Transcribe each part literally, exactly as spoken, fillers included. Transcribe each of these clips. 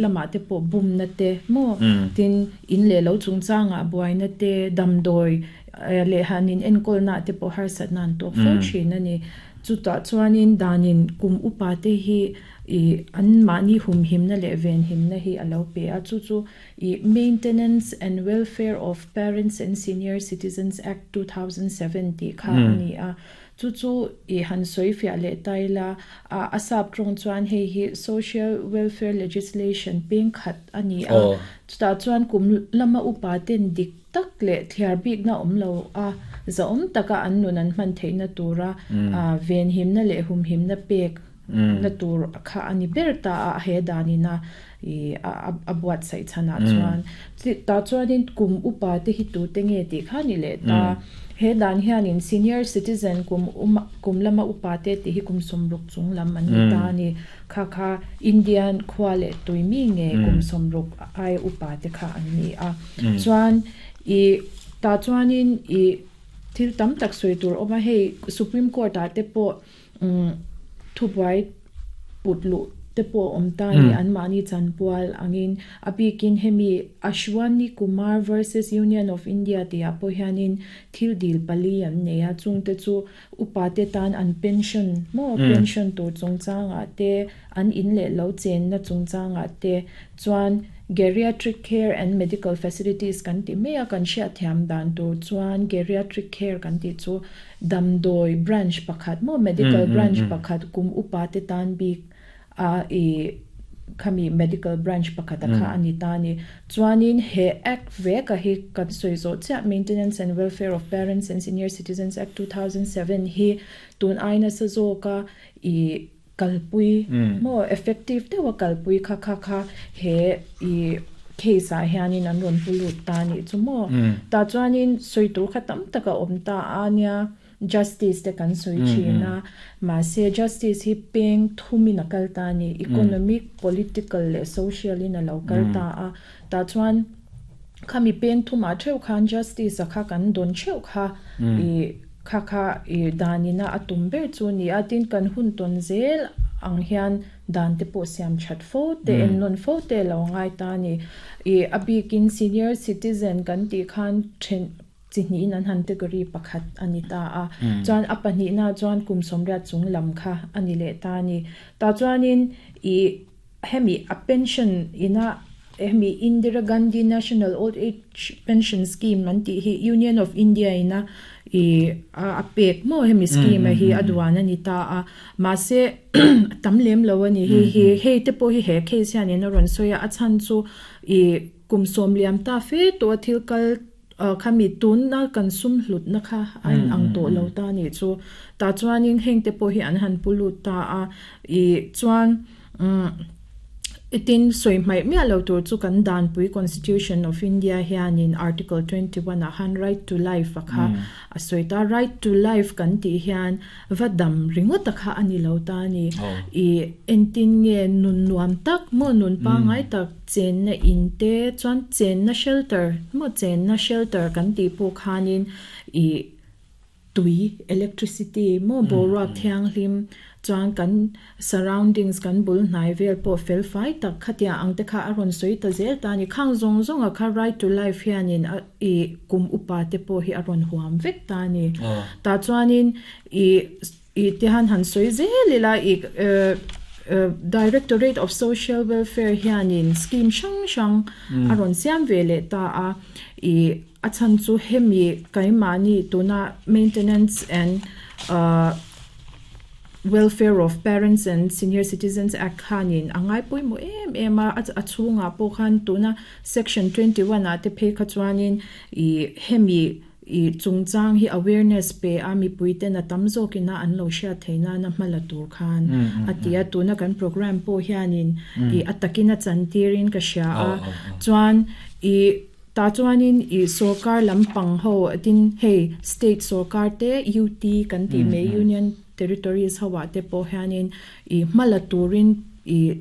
lamah te pawh bumna te maw tin in leh lo chungchangah buaina te damdawi leh hanin enkawlna te pawh harsatna an tawk fo thin ani. Chutah chuanin danin kum upa te hi i an mahni humhimna leh venhimna hi a lo pe a, chu chu i Maintenance and Welfare of Parents and Senior Citizens Act two thousand seven tih kha ani a. Chu chu i han sawi fiah leh ta ila, a a sap tawng chuan hei hi social welfare legislation peng khat ani a. Chutah chuan kum lama upa ten dik tak leh thliar bikna awm lo a, za awm taka an nun an hman theihna tura a venhimna leh humhimna pek na tur kha ani ber ta a he danina i a a buatsaih chhanah chuan. Tah chuanin kum upa te hi tu te nge tih kha ni leh ta. He dan hianin senior citizen kum uma kum lama upa te tih hi kum sawmruk chung lam an ni ta ani. Kha kha Indian khua leh tui mi nge kum sawmruk ai upa te kha an ni a. Chuan i tah chuanin i thil tam tak sawi tur awm a, hei Supreme Court ah te pawh um thubuai put luh te pawh awm ta ni an mahni chanpual angin a bikin hemi Ashwani Kumar versus Union of India tih ah pawh hianin thil dil pali an nei a, chung te chu upa te tan an pension maw pension tur chungchangah te an in leh lo chenna chungchangah te chuan geriatric care and medical facilities kan ti mai a, kan hriat thiam dan tur chuan geriatric care kan tih chu damdawi branch pakhat maw medical branch pakhat kum upa te tan bik a i khami medical branch pakhat a kha ani ta ni. Chuanin he act veka hi kan sawi zawh chiah Maintenance and Welfare of Parents and Senior Citizens Act two thousand seven hi tun aina sa zawka i kalpui maw effective deuha kalpui kha kha kha he i case ah hianin an rawn pulut ta ni chu maw. Tah chuanin sawi tur kha tam taka awm ta a nia, justice te kan sawi thin a, mahse justice hi peng thumin a kal ta ni, economic, political leh social in a lo kal ta a. Tah chuan khami peng thumah theuh khan justice a kha kan dawn theuh kha i kha kha i danina a tum ber chu ni a. Tin kan hun tawn zel ang hian dan te pawh siam that fo te en nawn fo te lo ngai ta ni. I a bikin senior citizen kan tih khan then chi hnihin an han category pakhat ani ta a, chuan a pahnihna chuan kum sawmriat chung lam kha ani leh ta ni. Tah chuanin i hemi a pension ina hemi Indira Gandhi National Old Age Pension Scheme an tih hi Union of India ina i a pek maw hemi scheme a hi a duan ani ta a, mahse tam lem lo ani. Hei hi hei te pawh hi he case hianin a rawn sawi a, a chhan chu i kum sawm liam ta fe tawh a thil kal khami tunna kan sum hlutna kha a in ang tawh lo ta ni chu. Tah chuanin heng te pawh hi an han pulut ta a. I chuan um itin sawi hmaih miah lo tur chu kan danpui Constitution of India hianin Article twenty one ah khan right to life a kha a sawi ta. Right to life kan tih hian va dam ringawt a kha ani lo ta ni. I entin nge nun nuam tak maw nun pangai tak chenna in te chuan chenna shelter maw chenna shelter kan tih pawh khanin i tui, electricity maw boruak thianghlim chuan kan surroundings kan bul hnai vel pawh fel fai tak khatia ang te kha a rawn sawi ta zel ta ni. Khang zawng zawng a kha right to life hianin a i kum upa te pawh hi a rawn huam vek ta ni. Tah chuanin i i te han han sawi zel ila, i Directorate of Social Welfare hianin scheme hrang hrang a rawn siam ve leh ta a. I a chhan chu hemi kaimahni tuna Maintenance and uh Welfare of Parents and Senior Citizens Act khanin a ngai pawimawh em em a, a chhungah pawh khan tuna section twenty one ah te phei kha chuanin i hemi i chungchang hi awareness pe a, mipui ten a tam zawkina an lo hriat theihna na hmala tur khan a ti a. Tuna kan program pawh hianin i a takin a chantirin ka hria a. Chuan i tah chuanin i sorkar lampang ho tin hei state sorkar te U T kan tih mai union territories ho ah te pawh hianin i hmala turin i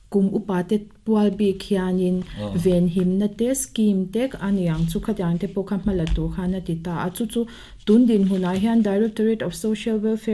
kum upa te pual bik hianin venhimna te scheme te aniang chu khatiang te pawh kha hmala tur khan a ti ta a. Chu chu tun din hunah hian Directorate of Social Welfare